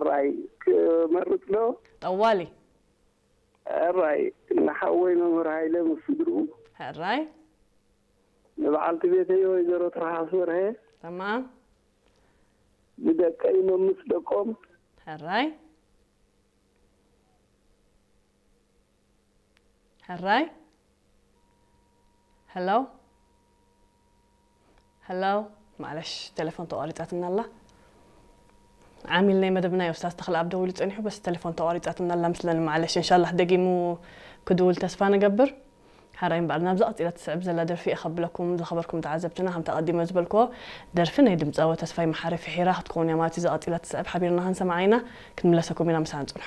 ተስፋይ ክመርጽ ዶ? ጠዋሊ። ሕራይ፣ ንሓወይ መምህር ሃይለ ምስ ስድርኡ፣ ሕራይ። ንበዓልቲ ቤተይ ወይዘሮ ትርሃስ በርሀ፣ ተማም። ንደቀይ መምስ ደቆም፣ ሕራይ። ሕራይ። ሄሎ። ሄሎ። ማለሽ፣ ቴሌፎን ተቋሪጻትና ኣላ። ዓሚል ናይ መደብና ኡስታዝ ተኽለኣብ ደዊሉ ጸኒሑ፣ በስ ቴሌፎን ተቋሪጻትና ኣላ ምስለኒ። ማለሽ፣ እንሻላህ ደጊሙ ክድውል ተስፋ ንገብር። ሕራይ እምበኣር፣ ናብዛ ቀጺላ ትስዕብ ዘላ ደርፊ እየ ከብለኩም። ዝኸበርኩም ተዓዘብትና፣ ከምቲ ኣቐዲመ ዝበልክዎ፣ ደርፊ ናይ ድምጻዊ ተስፋይ መሓሪ ፍሒራ ክትከውን እያ ማለት እዩ። እዛ ቀጺላ ትስዕብ ሓቢርና ክንሰምዓ ኢና። ክንምለሰኩም ኢና፣ ምሳና ጽንሑ።